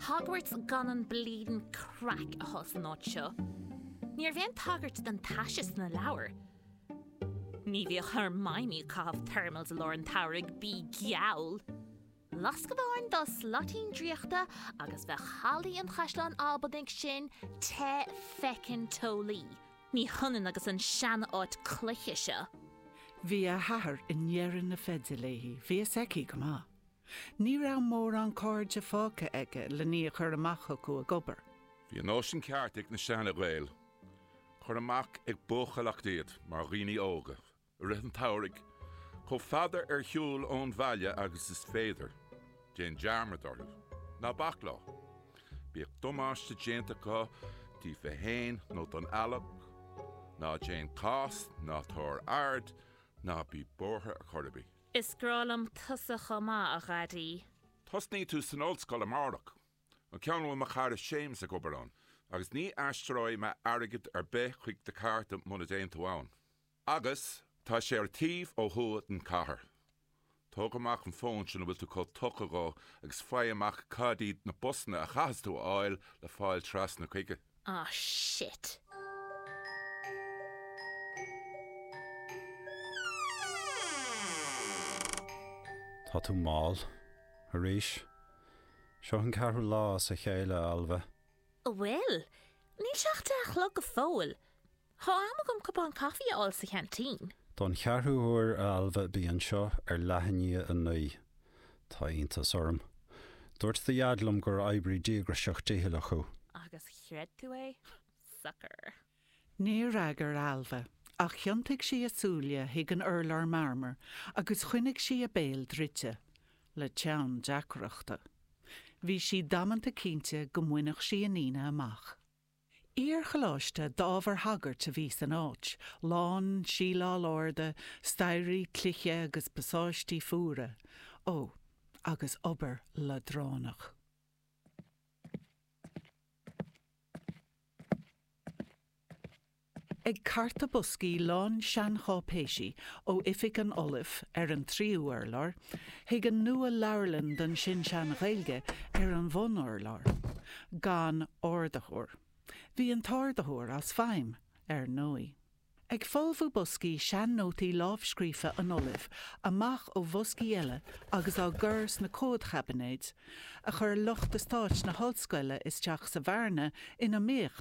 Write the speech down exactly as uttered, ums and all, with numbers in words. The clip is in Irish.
Hogwarts gan an bleedin' craic atá san áit seo. Ní raibh aon tagairt don taise sna leabhair. Ní bhíodh Hermione ag caitheamh thermals i lár an tsamhraidh, bí geall. Lasc amháin dá slaitín draíochta agus bheadh hallaí an Chaisleáin Albanaigh sin te feckin' teolaí. Ní hionann agus an sean-áit cloiche seo. Bhí a hathair i ndeireadh na feide léi, bhí fhios aici go maith. Ní raibh mórán cairde fágtha aige len í a chur amach chucu ag obair. Bhí an nóisean ceart ag na seana-Ghaeil. Cuir amach ag buachailleacht iad mar dhaoine óga, i rith an tsamhraidh, chomh fada ar shiúl ón bhaile agus is féidir. Déan dearmad orthu. Ná bac leo. Bíodh damáiste déanta acu daofa féin nó don eallach. Ná déan cás, ná tabhair aird, ná bí buartha ar chor ar bith. Is grá liom tusa chomh maith, a Dhaidí. Tosnaíonn tú san ollscoil amárach, an ceann a bhfuil mo chara Séamus ag obair ann, agus ní aistreoidh mé airgead ar bith chuig do chárta muna dtéann tú ann. Agus tá sé ar an taobh ó thuaidh den chathair. Tóg amach an fón sin a bhfuil tú chomh tugtha dhó agus faigh amach cad iad na busanna a chaithfeas tú a fháil le fáil trasna chuige. Ah, shit. Tá tú mall. Arís. Seo an ceathrú lá as a chéile, a Ailbhe. An bhfuil? Níl sé ach deich a chlog go fóill. Tá am agam cupán caife a fháil sa cheaintín. Don cheathrú huair, a Ailbhe, bí anseo ar leath i ndiaidh a naoi. Tá iontas orm. Dúirt do Dhaid liom gur oibrí díograiseach dícheallach thú. Agus chreid tú é? Sucker. Níor fhreagair Ailbhe, ach thiontaigh sí a súile chuig an urlár marmair agus choinnigh sí a béal druidte, le teann deacrachta. Bhí sí damanta cinnte go mbainfeadh sí an Aoine amach. Iar-choláiste d'ábhair shagairt a bhí san áit, lán síleáil arda, staighrí cloiche agus pasáistí fuara, ó, agus obair leadránach. Ag cartadh boscaí lán seancháipéisí ó oifig an Ollaimh ar an tríú urlár chuig an nua-leabharlann don sin-sean-Ghaeilge ar an bhun-urlár. Gan ardaitheoir. Bhí an t-ardaitheoir as feidhm, ar ndóigh. Ag folmhú boscaí sean-nótaí lámhscríofa an Ollaimh amach ó bhoscaí eile agus á gcur sna comhadchaibinéid a chuir lucht eastáit na hollscoile isteach sa bhearna ina mbíodh